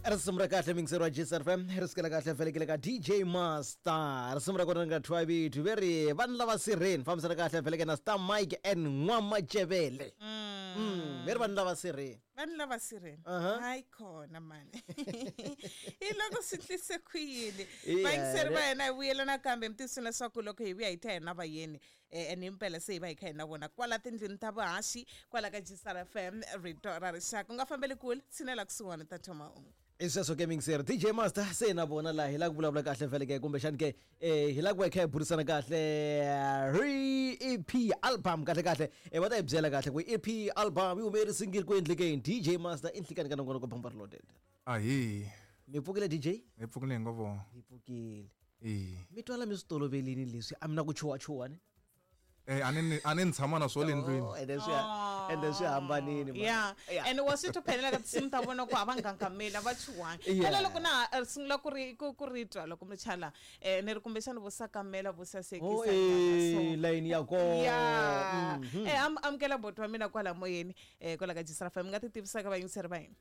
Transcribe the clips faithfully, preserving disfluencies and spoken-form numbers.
Risimu ra kahle mingiseri wa G S R F M, ri sukela kahle felekele ka D J Master. Risimu ra kona ri nga thyiwa vito ve ri "Vanhu lava sirheni", fambisana kahle feleke na Star Mike and N'wamacevele. Mm, ve ri "Vanhu lava sirheni". "Vanhu lava sirheni". Aha. Hayi khona mani, hi loko swi ndlise ku yini? Yeah. Vayingiseri va hina, hi vuyela nakambe. Mi tiyisini leswaku loko hi vuya hi ta hi na vayeni, eh, ene himpela se hi va hi kha hi na vona kwala tindlwini ta vuhaxi kwala ka G S R F M, rito ra rixaka. U nga fambeli kule, tshinela kusuhani ta thoma ungu. I sweswo ke mingiseri, D J Master se na vona laha hi lava ku vulavula kahle feleke, kumbexani ke eh, hi lava ku va hi kha hi burisana kahle ri E P album. Kahle kahle eh, va ta hi byela kahle ku E P album yi hume single ku endlekeni. D J Master, i nhlikani ka nongonoko Bamba Reloaded. Ahi. Mi pfukile, D J? Hi pfukile hi ngo vo. Hi pfukile. E. Mi twala mi swi tolovelini leswi, a mi na ku chuwachuwa ne? Eh, a ni ni- a ni ni tshama na swo le ndlwini. Oh, ende swi ende swi hambanini man. Ya. Yeah. And wa swi twa phela ka tinsimu ta vona ku a va ngangameli, a va chuhangi. Yeah. Phela loko na ha sungula ku ri ku ku ri twa loko mi chala, um ni ri kumbexani vo sakamela vo Oh, sasekisa. eh, layini ya kona. Ya. Mhm. Eh, am- amukela boti wa mina kwala moyeni, um kwala ka G S R F M. Mi nga ti tivisaka vayingiseri va hina?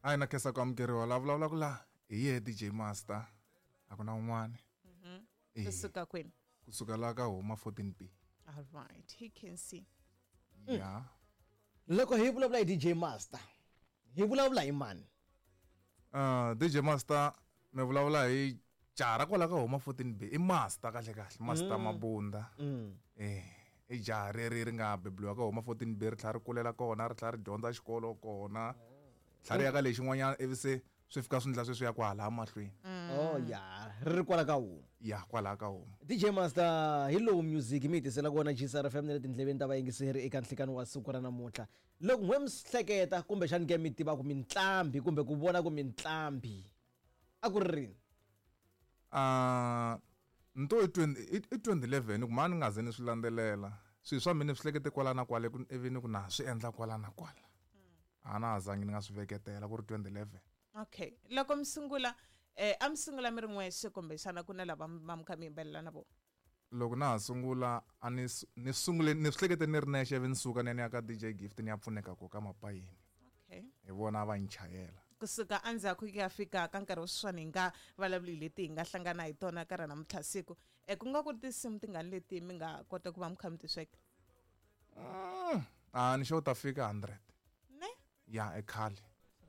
A hi na khensa ku amukeriwa. La vulavulaka la hi yehe D J Master, a ku na un'wana. Eh, kusuka kwini? Kusuka laha ka huma fourteen B. All right, he can see. Ya. Loko hi vulavula hi D J Master, hi vulavula hi mani? Uh, D J Master mi vulavula hi jaha ra kwala ka huma fourteen B. I Master kahle kahle, Master Mabunda. Eh, i jaha reri ri nga bebuliwa ka huma fourteen B, ri tlhela ri kulela kona, ri tlhela ri dyondza xikolo kona, tlhela ri ya ka lexin'wanyana, ivi se swi fika swi ndla sweswi ya kwala mahlweni. Oh ya, ri ri kwala ka huma. Ya, kwalaha ka huma. D J Master, hi lowu music mi hi tisela kona G S R F M na le tindleveni ta vayingiseri eka nhlikani wa siku ra namuntlha. Loko n'we mi swi hleketa, kumbexani ke mi tiva ku mintlambi kumbe ku vona ku mintlambi, a ku ri rini? Ah, nto i twenty i i twenty eleven ku mani nga ze ni swi landzelela swilo swa mina, ni swi hlekete kwala na kwale ku ivi ni ku na swi endla kwala na kwala, a na ha zangi ni nga swi veketela ku ri twenty eleven. Okay, loko mi sungula, eh a mi sungula mi ri n'wexe, kumbexana ku na lava va mi kha mi yimbelela na vona? Loko na ha sungula, a ni su- ni sungule ni swi hlekete ni ri nexe, ivi ni suka ni ya ni ya ka D J Gift, ni ya pfuneka ko ka mapayeni. Okay. Hi vona a va ni chayela. Kusuka endzhaku ku ya fika ka nkarhi wa sweswiwani, hi nga vulavuli hi leti hi nga hlangana hi tona ka ra namuntlha siku, um ku nga ku ri tinsimu tingani leti mi nga kota ku va mi kha mi ti sweka? Mm, a ni xo ta fika hundred. Ne? Ya, e khale.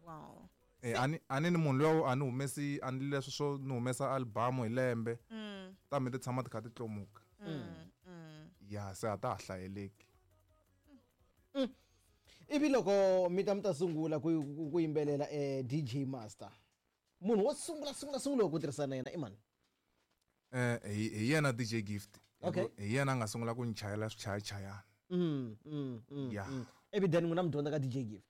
Wow. Eh, a ni a ni ni munhu luya a ni humesi, a ni leswi swo ni humesa album hi lembe. mm. Ta mi ti tshama ti kha ti tlomuka. Mm. Mm. Ya, se a ta ha hlayeleki. Ivi loko mi ta mi ta sungula ku ku- ku yimbelela, eh, D J Master, munhu wo sungula sungula sungula ku tirhisana na yena i mani? Eh, hi hi yena D J Gift. Okay. Hi yena a nga sungula ku ni chayela swichayachayana. mm, mm, mm, Ya. mm. ivi then n'wina mi dyondza ka D J Gift?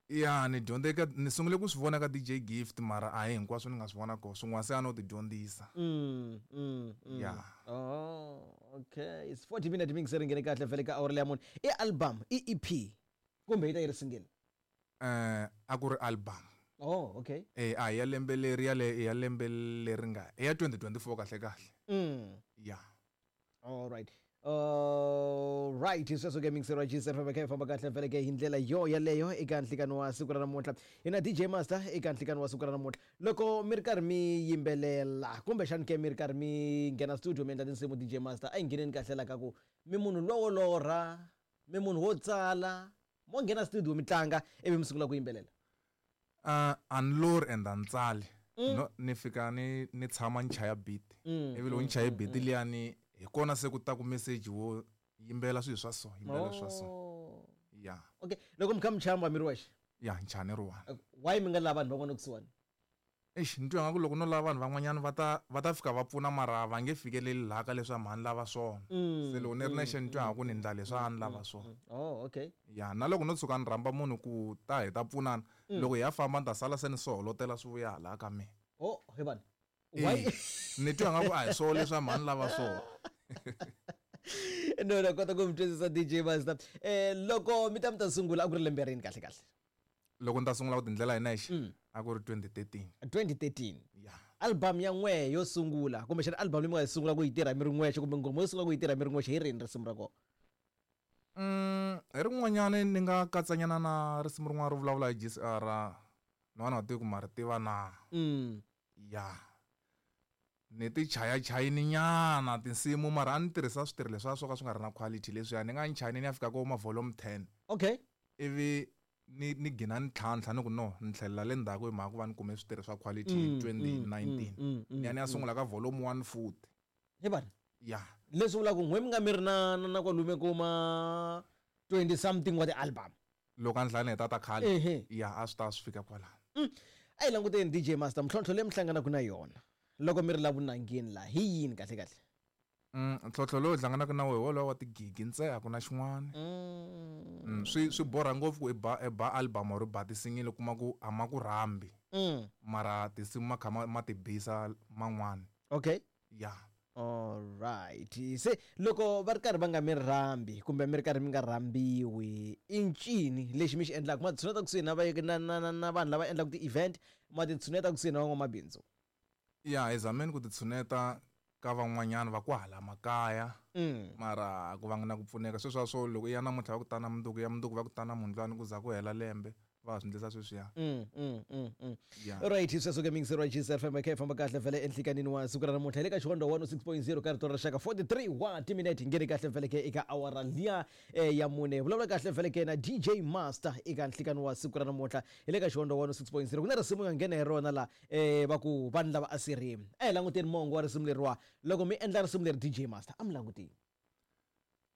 Ya, ni dyondze ka, ni sungule ku swi vona ka D J Gift, mara a hi hinkwaswo ni nga swi vona kona, swin'wana se a no ti dyondzisa. mm, mm, mm. Ya. Oh, okay, it's forty minute mingiseri nghene kahle vhele ka awara leya mune. I album, i E P, kumbe yi ta yi ri single? Eh, a ku ri album. Oh, okay. Eh, a hi ya lembe leri, ya le ya lembe leri nga i ya twenty twenty-four kahle kahle. mm. Ya. All right. Uh, right, sweswo ke mingiseri wa G S F kha hi famba kahle vhele ke hi ndlela yo yaleyo eka nhlikani wa siku ra namuntlha. Hi na D J Master eka nhlikani wa siku ra namuntlha. Loko mi ri karhi mi yimbelela, kumbexani ke mi ri karhi mi nghena studio mi endla tinsimu, D J Master, a hi ngheneni kahle la ka ku mi munhu lowo lorha, mi munhu wo tsala, mo nghena studio mi tlanga ivi mi sungula ku yimbelela? Uh, a ni lori and a ni tsali. No, ni fika ni ni tshama ni chaya beat, Mm, ivi loko ni chaye beat liyani, hi kona se ku ta ku message wo yimbela swilo swa so, yimbela swa so. Oh. Ya. Okay, loko mi kha mi chaya mi va mi ri wexe? Ya, ni chaya ni ri one. Why mi nga lava vanhu van'wana kusuhani? Eish, ni twa nga ku loko no lava vanhu van'wanyana, va ta va ta fika va pfuna, mara va nge fikeleli laha ka leswi a mhani lava swona. Se loko ni ri nexe, ni twa nga ku ni ndla leswi a ni lava swona. Oh, okay. Ya, na loko no tshuka ni rhamba munhu ku ta hi ta pfunana, loko hi ya famba ni ta sala se ni soholotela swi vuya hala ka mina. Oh, he vanhu, why? Eh, ni twa nga ku a hi swona leswi a mhani lava swona. No, na kota ku mi twisisa, D J Master. Eh, loko mi ta mi ta sungula, a ku ri lembe rini kahle kahle? Loko ni ta sungula ku tindlela hi nexe, a ku ri twenty thirteen. twenty thirteen? Ya. Album ya n'we yo sungula, kumbexana album leyi mi nga yi sungula ku yi tirha mi ri n'wexe, kumbe nghoma yo sungula ku yi tirha mi ri n'wexe, hi rini risimu ra kona? Mm, hi rin'wanyani ni nga katsanyana na risimu rin'wana ro vulavula hi G C R. No na tivi ku ma ri tiva na. Mm. Ya. Ni ti chayachayini nyana tinsimu mara a ni tirhisa switirho leswiya swo ka swi nga ri na quality leswiya ni nga ni chayini ni ya fika ko ma volume ten. Okay. Ivi ni ni gina ni tlhantlha ni ku no ni tlhelela le ndzhaku hi mhaka ku va ni kume switirho swa quality hi Mm, twenty mm, nineteen. mm, mm, Ni ya ni ya mm. sungula ka volume one futhi. He vana. Ya. Leswi vulaka ku n'we mi nga mi ri na na na kwalomu ko ma twenty something wa ti-album. Loko a ni hlaya ni heta ta khale. Ehe. Ya a swi ta swi fika kwalano. Mm. A hi languteni D J Master mintlhontlho leyi mi hlanganaka na yona loko mi ri la vunangeni laha hi yini kahle kahle? Mm, ntlhontlho lowu hi hlanganaka na wona hi wolowo wa tigigi ntsena a ku na xin'wana. Mm. Mm, swi swi borha ngopfu ku i ba i ba album or i ba tisingili u kuma ku a ma ku rhambi. Mm. Mara tinsimu ma kha ma ma ti bisa man'wani. Okay. Ya. All right. Se loko va ri karhi va nga mi rhambi kumbe mi ri karhi mi nga rhambiwi i ncini lexi mi xi endlaka? Ma tshuneta kusuhi na va na na na na vanhu lava endlaka ti-event, ma ti tshuneta kusuhi na van'wamabindzu? Ya, hi zameni ku ti tshuneta ka van'wanyana va kwahala makaya. Mm. Mara ku vanga na ku pfuneka sweswiya swo loko i ya namuntlha va ku tana mundzuku ya mundzuku va ku tana mundlwani ku za ku hela lembe va ha swi endlisa sweswiya. Mm, mm, mm, mm. Ya. Right, sweswo ke mingiseri wa G S F M kha hi famba kahle vhele enhlikanini wa siku ra namuntlha hi le ka Xihondlo one oh six point zero ka rito ra rixaka forty-three wa timinete hi nghene kahle vhele ke eka awara liya eh, ya mune. Vulavula kahle vhele ke na D J Master eka nhlikani wa siku ra namuntlha hi le ka Xihondlo one oh six point zero. Ku na risimu nga nghena hi rona la eh, va ku vanhu lava a sirheni. A hi languteni mongo wa risimu leriwa. Loko mi endla risimu leri D J Master a mi langutini?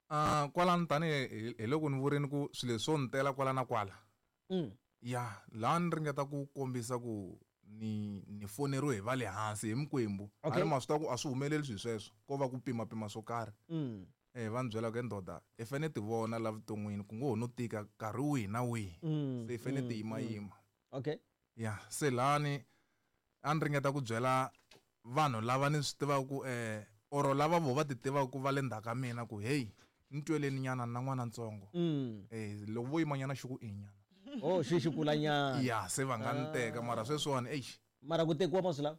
Ah, kwalano tanihi hi, hi loko ni vurini ku swilo leswi swo ni tela kwala na kwala. Mm. Ya, laha ni ringeta ku kombisa ku ni, ni foneriwe hi va le hansi hi mikwembu. A Okay. ni ma swi tiva ku a swi humeleli swilo sweswo, ko va ku pimapima swo karhi. Mm. Eh, va ni byela ku he ndoda, i fanele ti vona la vuton'wini ku ngo ho no tika nkarhi wihi na wihi. Mm, Se i fanele ti mm, yimayima. Okay. Ya, se lahani a ni ringeta ku byela vanhu lava ni swi tivaka ku, eh, oro lava vo va ti tivaka ku va le ndzhaku ka mina ku hey, ni tweleni nyana na n'wana ntsongo. Mm. Eh, loko vo yima nyana xi ku i nyana. Oh, xi xi kula nyana. Ya, se va nga ni teka mara sweswiwani, eish. Mara ku tekiwa ma swi lava?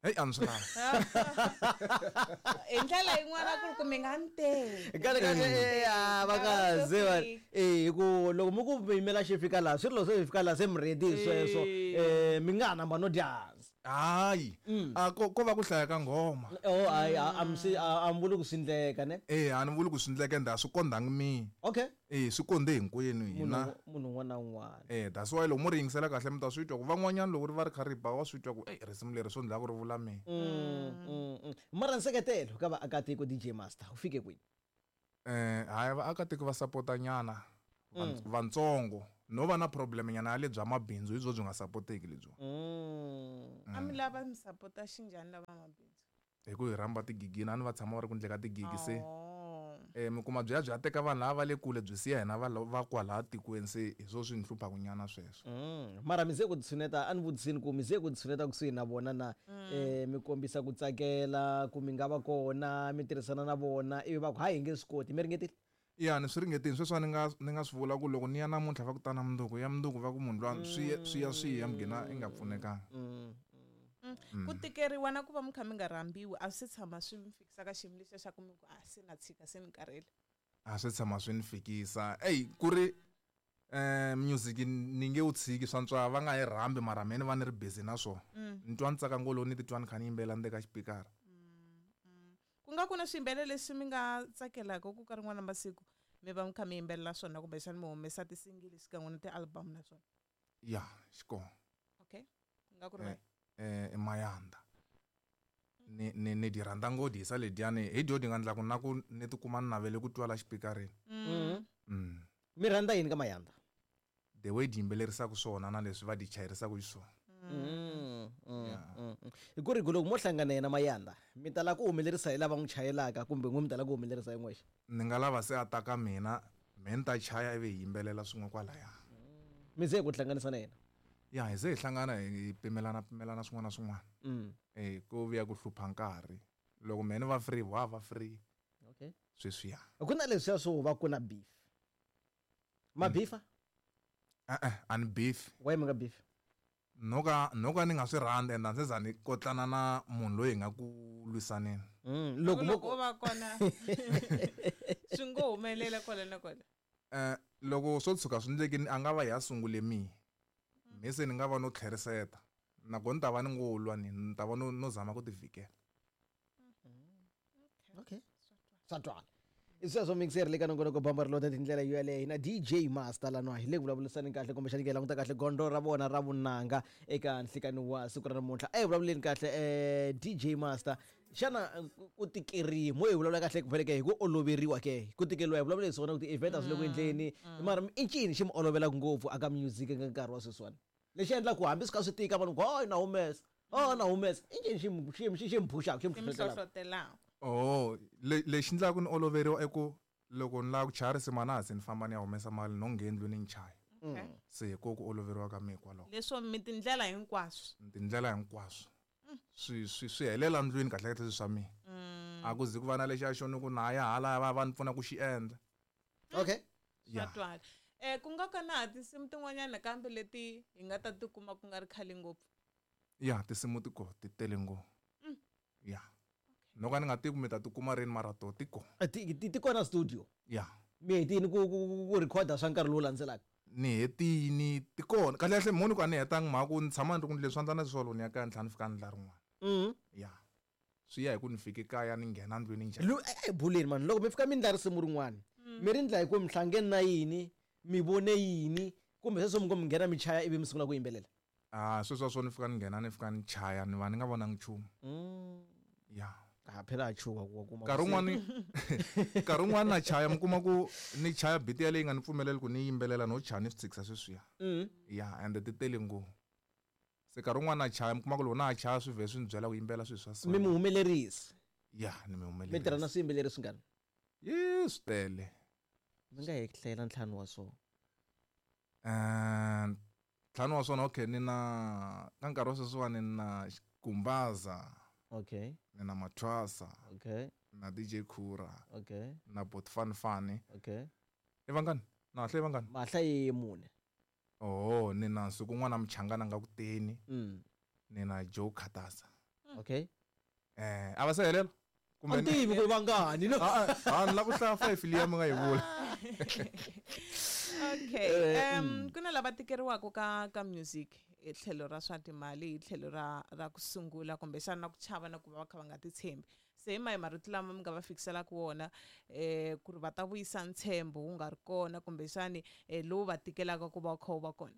Hey, a ni swi lavi. Hi ndlela yin'wana ku ri ku mi nga ni teki. Kahle kahle, eh, a va nga ze va, eh, hi ku loko mi ku mi yimela xi fika laha, swi ri loko se xi fika laha se mi ready hi sweswo, Eh. eh, mi nga ha namba no dya hansi. Hayi. Mm. A ko, ko va ku hlaya ka nghoma. Oh, hayi, a, a mi swi, a, a mi vuli ku swi endleka, ne? Eh, a ni vuli ku swi endleka, ende a swi kondhangi mina. Okay. Eh, swi kondhe hinkwenu hina. Munhu, munhu un'wana na un'wana. Eh, that's why loko mo ri yingisela kahle mi ta swi twa ku van'wanyana loko ri va ri kha ri ba wa swi twa ku, eh, risimu leri swo ndlaku ri vula mina. Mm, mm, mm. Mara nseketelo ka vaakatiko D J Master wu fike kwini? Eh, hayi vaakatiko va sapota nyana Mm. vantsongo. No va na problem nyana ya le bya mabindzu hi byo byi nga sapoteki lebyiwa. Mm. A mi lava mi sapota xinjhani lava mabindzu? Hi ku hi rhamba tigigini, a ni va tshama va ri ku endleka tigigi se. Oh. Eh, mi kuma byi ya byi ya teka vanhu lava va le kule byi siya hina va va kwalaha tikweni se hi swo swi ni hluphaka nyana sweswo. Mm. Mara mi ze ku tshuneta, a ni vutisini ku mi ze ku tshuneta kusuhi na vona na, Mm. eh, mi kombisa ku tsakela ku mi nga va kona, mi tirhisana na vona, ivi va ku hayi hi nge swi koti, mi ringetile? Ya, ni swi ringetile sweswi ni nga, ni nga swi vula ku loko ni ya namuntlha va ku tana mundzuku, ya mundzuku va ku munhu luya swi ya, swi ya swi ya mi gina i nga pfunekanga. Mm. Mm. Ku tikeriwa na ku va mi kha mi nga rhambiwi a swi tshama swi mi fikisa ka xiyimo lexiya xa ku mi ku a se na tshika se ni karhele. A swi tshama swi ni fikisa. Ey, ku ri, eh, music ni nge wu tshiki swa ntswa va nga yi rhambi mara mina ni va ni ri busy na swona. Mm. Ni twa ni tsaka ngopfu loko ni titwa ni kha ni yimbelela ndzeni ka xipikara. Ku nga ku na swiyimbelela leswi mi nga tsakelaka ku ka rin'wana masiku mi va mi kha mi yimbelela swona kumbexana mi humesa tisingili xikan'we na ti-album na swona? Ya, xikona. Okay. Ku nga ku ri Eh, vahi? eh, i Mayanda. Ni, ni, ni di rhandza ngopfu hisa lediyani hi dyo di nga endlaku na ku ni tikuma ni navele ku twa la xipikareni. Mm. Mm. Mi rhandza yini ka Mayanda? The way di yimbelerisaka swona na leswi va di chayerisaka xiswona. Mm, mm, Yeah. mm, mm. Hi ku ri ku loko mo hlangana yena Mayanda, mi tala ku humelerisa hi lava n'wi chayelaka kumbe n'wi mi tala ku humelerisa hi n'wexe? Ni nga lava se a ta ka mina, me ni ta chaya ivi hi yimbelela swin'we kwalaya. Mi ze ku hlanganisa na yena? Ya, hi ze hi hlangana hi pimelana pimelana swin'wana na swin'wana. Mm. Eh, ku vuya ku hlupha nkarhi. Loko me ni va free, wa va free. Okay. Sweswiya. Ku na leswiya swo va ku na beef. Ma Mm. beefa? E-e, a ni beef. Why mi nga beef? No ka, no ka ni nga swi rhandzi and a ndzi za ni kotlana na munhu loyi hi nga ku lwisaneni. Mm, loko mo Loko o va kona swi ngo humelela kwala na kwala. Eh, loko swo tshuka swi endlekile a nga va hi ya sungule mina. Me se ni nga va no tlheriseta nakona ni ta va ni ngo lwa ni ni ta va no no zama ku tivikela. Okay, swa twala. I sweswo mixer le ka nongonoko bamba ri lota tindlela yo yaleyo na D J Master lanwa hi le ku vulavurisani kahle kumbexani ke languta kahle gondzo ra vona ra vunanga eka nhlikani wa siku ra namuntlha. A hi vulavuleni kahle eh D J Master, xana ku tikeriwa mo hi vulavula kahle ku vheleke hi ku oloveriwa ke ku tikeriwa hi vulavula hi swona ku ti-event a swi le ku endleni mara i ncini xi mi olovelaka ngopfu aka music eka nkarhi wa sweswiwani lexi endlaka ku hambi swi kha swi tika vanhu ku oh na humesa oh na humesa i ncini xi xi xi xi mi phuxaka xi mi Xi mi hlohlotelaka? hlohlotelaka. Oh, le lexi endlaka ni oloveriwa i ku loko ni lava ku chaya risimu a na ha se ni famba ni ya humesa mali no nghena ndlwini ni chaya. Okay. Se hi ko ku oloveriwa ka mina kwalaho. Leswo mi tindlela hinkwaswo. Tindlela hinkwaswo. Swi swi swi helela ndlwini kahle kahle swilo swa mina. A ku zi ku va na lexiya xo ni ku na ya hala va va ni pfuna ku xi endla. Okay. Swa Ya. twala. Eh ku nga ka na ha tinsimu tin'wanyana kambe leti hi nga ta tikuma ku nga ri khale ngopfu. Ya, tinsimu ti kona ti tele ngopfu. Ya. No ka ni nga tivi ku mi ta tikuma rini mara to ti kona. Ti ti ti kona studio. Ya. Mi hetini ku ku ku recorda swa nkarhi lowu landzelaka. Ni hetini ti kona. Kahle kahle mhoni ku a ni hetanga mhaka ku ni tshama ni ri ku leswi swa ndla na swolo ni ya kaya ni tlhela ni fika ni ndla rin'wana. Mm. Ya. Swi ya hi ku ni fike kaya ni nghena ndlwini njhani. Lu eh buleni man loko mi fika mi ndla risimu rin'wana mi ri ndla hi ku mi hlangene na yini mi vone yini kumbe sweswo mi ngo mi nghena mi chaya ivi mi sungula ku yimbelela. Ah sweswo swo ni fika ni nghena ni fika ni chaya ni va ni nga vonangi nchumu. Mm. Ya. Ah phela a chuha ku wa kuma. Nkarhi wun'wani nkarhi wun'wani na chaya mi kuma ku ni chaya beat yaleyi nga ni pfumeleli ku ni yimbelela no chaya ni swi tshikisa sweswiya. Mm. Ya and ti tele ngopfu. Se nkarhi wun'wani na chaya mi kuma ku loko na ha chaya swi vhe swi ni byela ku yimbelela swilo swa so. Mi mi humelerisi. Ya ni mi Mi tirha na humelerisi. swiyimbeleri swingani? Ye swi tele. Mi nga hi hlayela ntlhanu wa swona. Eh ntlhanu wa swona okay ni na ka nkarhi wa sweswiwani ni na Kumbaza. Okay. Ni na Mathwasa. Okay. Na D J Khura. Okay. Na Bot Fan Fani. Okay. I vangani? Na hlayi vangani? Mahla yi mune. Oh, ni na Nsuku n'wana Mchangana nga ku teni. Mm. Ni na Joe Khatasa. Okay. Eh, a va se helela? Kumbe A tivi ku vangani no. Ah, ah, ni lava ku hlaya five liya mi nga yi vula. Okay. Um ku na lava tikeriwaka ka ka music hi tlhelo ra swa timali hi tlhelo ra ra ku sungula kumbexana na ku chava na ku va va kha va nga titshembi. Se hi mahi marito lama mi nga va fikiselaka wona eh ku ri va ta vuyisa ntshembo wu nga ri kona kumbexani eh lowu va tikelaka ku va kha wu va kona.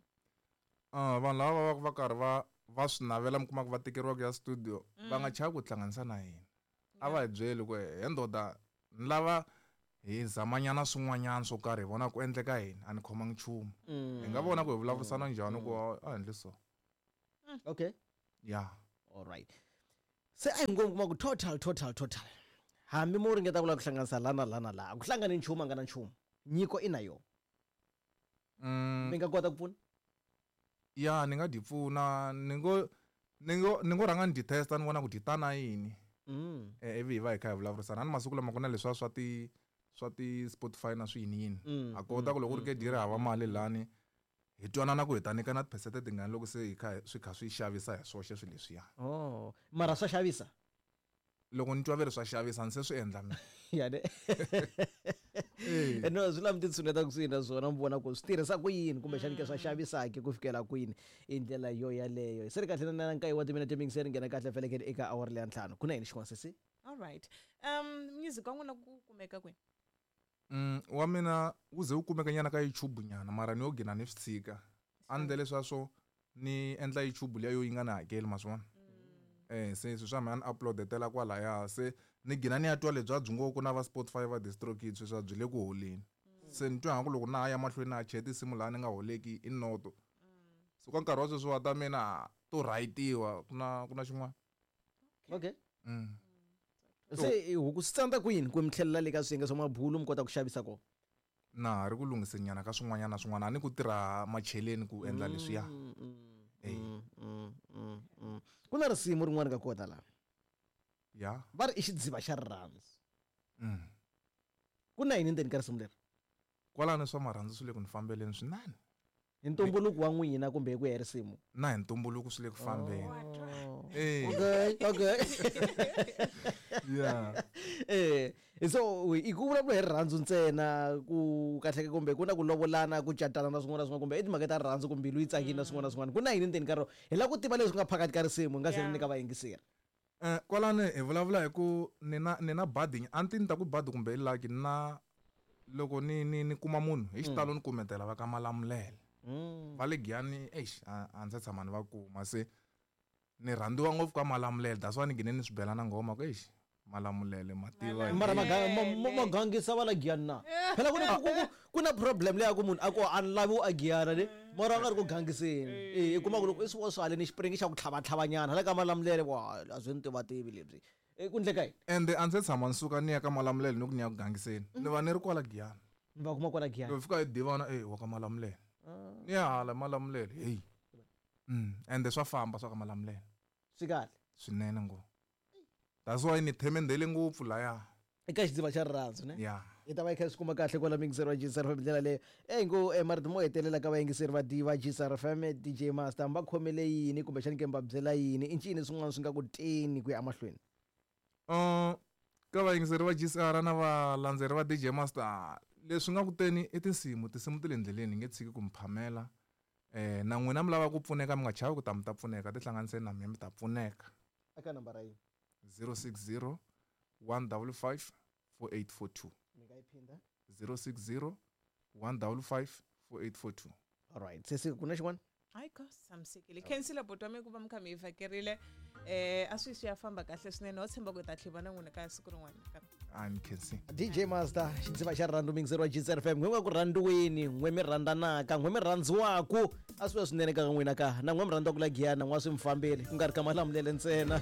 Ah vanhu lava va va va karhi va va swi navela mi kuma ku va tikeriwa ku ya studio va nga chavi ku tihlanganisa na hina. A va hi byeli ku he ndoda ni lava hi zamanyana swin'wanyana swo karhi hi vona ku endleka yini a ni khomangi nchumu. Hi nga vona ku hi vulavurisana njhani ku a endli so. Okay. Ya. All right. Se a hi ngo kuma ku total total total. Hambi mo ringeta ku lava ku hlanganisa la na la na la, ku hlangani nchumu a nga na nchumu. Nyiko i na yona. Mm. Mi nga kota ku pfuna? Ya, ni nga di pfuna, ni ngo ni ngo ni ngo rhanga ni di testa ni vona ku di ta na yini. Mm. Eh ivi hi va hi kha hi vulavurisana. A ni masiku lama ku na leswiya swa ti swa ti Spotify na swiyini yini. Mm, A kota ku loko ku ri ke di ri hava mali lani hi twanana ku hi ta nyikana tiphesente tingani loko se hi kha swi kha swi xavisa hi swoxe swilo leswiya. Oh, mara swa xavisa? Loko ni twa ve ri swa xavisa ni se swi endla mina. Ya ne. Eh. No, swi lava mi ti tshuneta kusuhi na swona mi vona ku swi tirhisa ku yini kumbexani ke swa xavisa ke ku fikela kwini i ndlela yo yaleyo. Se ri kahle na nkaye wa timinete mingiseri nghena kahle felekeni eka awara leya ntlhanu. Ku na yini xin'wana sesi? All right. Um music wa n'wina ku kumeka kwini? Mm, wa mina wu ze wu kumeka nyana ka YouTube nyana mara ni yo gina ni swi tshika. A ni ndle leswiya ni endla YouTube liya yo yi nga ni hakeli ma swi vona. Eh se sweswi swa mina ni upload-etela kwalaya se ni gina ni ya twa lebya byi ngo ku na va Spotify va DistroKid sweswiya byi le ku holeni. Se ni twa nga ku loko na ha ya mahlweni na ha chaya tinsimu laha ni nga holeki i noto. So ka nkarhi wa sweswiwa ta mina to write-iwa ku na ku na xin'wana. Okay. Mm. Se huku swi tsandza kwini ku mi tlhelela le ka swiyenge swa mabulu mi kota ku xavisa kona? Na ha ri ku lunghiseni nyana ka swin'wanyana na swin'wana a ni ku tirha macheleni ku endla leswiya. Mm, mm, Eh. mm, mm, mm, mm. Ku na risimu rin'wana ka kota laha. Ya. Va ri i xidziva xa rirhandzu. Mm. Ku na yini ndzeni ka risimu leri? Kwalano swa marhandzu swi le ku ni fambeleni swinene. Hi ntumbuluko wa n'wina kumbe hi ku ya hi risimu? Na hi ntumbuluko swi le ku fambeni. Oh. Eh. Okay, okay. Yeah. Eh, So i ku vulavula hi rirhandzu ntsena ku kahleke kumbe ku na ku lovolana, ku catana na swin'wana na swin'wana, kumbe i timhaka ta rirhandzu ku mbilu yi tsakile na swin'wana na swin'wana. Ku na yini ndzeni ka rona? Hi lava ku tiva leswi nga phakathi ka risimu hi nga se ri Yeah. nyika vayingiseri. Eh, kwalano hi vulavula hi ku ni na ni na badi, a ni ti ni ta ku badi kumbe i lucky na loko ni ni ni kuma munhu hi xitalo ni kumetela va ka Malamulele. Mm. Va le Giyani, eish, a a ndzi se tshama ni va kuma, se ni rhandziwa ngopfu ka Malamulele, that's why ni gine ni swi bela na nghoma ku eish, Malamulele ma tiva hi- Mara maga- ma- ma- magangisa va la Giyani na phela ku na ku- ku- ku na problem leya ku munhu a ku a ni lavi u a Giyana ne, mara a nga ri ku gangiseni. Eh, i kuma ku loko i swi swale ni xipiringi xa ku tlhavatlhavanyana hala ka Malamulele, wa a byi ni tivativi lebyi. Eh, ku ndleka yini? Ende a ndzi se tshama ni suka ni ya ka Malamulele ni ku ni ya ku gangiseni, ni va ni ri kwala Giyani. Ni va kuma kwala Giyani. Loko fika hi divana, eh, wa ka Malamulele, ni ya hala Malamulele, hey. Mm, ende swa famba swa ka Malamulele. Swi kahle. Swinene ngopfu. That's why ni themendhele ngopfu laya. Eka xidziva xa rirhandzu ne? Yeah. Hi ta va hi kha hi swi kuma kahle kwala miyingiseri wa G S R F M ndlela leyo. E ngo eh, marito mo hetelela ka vayingiseri va D va G S R F M, D J Master, va khomele yini kumbexani ke va byela yini? I ncini swin'wana swi nga ku teni ku ya emahlweni? Uh, ka vayingiseri va G S R na valandzeri va D J Master, leswi nga ku teni i tinsimu, tinsimu ti le ndleleni, hi nge tshiki ku mi phamela. Eh, na n'wina mi lava ku pfuneka, mi nga chavi ku ta mi ta pfuneka, tihlanganiseni na mina mi ta pfuneka. Eka nambara yini? zero six zero one double five four eight four two. Mi nga yi phinda? zero six zero one double five four eight four two. Alright, sesi, ku na xin'wana? Hayi ko tshamisekile, khensile buti wa mi ku va mi kha mi yi vhakerile. um a swi swi ya famba kahle swinene, ho tshemba ku hi ta tlhiva na n'wina ka siku rin'wana nakambe. A ni khensi. D J Master, xidziva xa rirhandzu, miyingiseri wa G S R F M, n'we nga ku rhandziweni, n'we mi rhandzanaka, n'we mi rhandziwaku, a swi va swinene ka n'wina ka na n'we mi rhandziwaku la Giyani, n'wa swi mi fambeli ku nga ri ka Malamulele ntsena.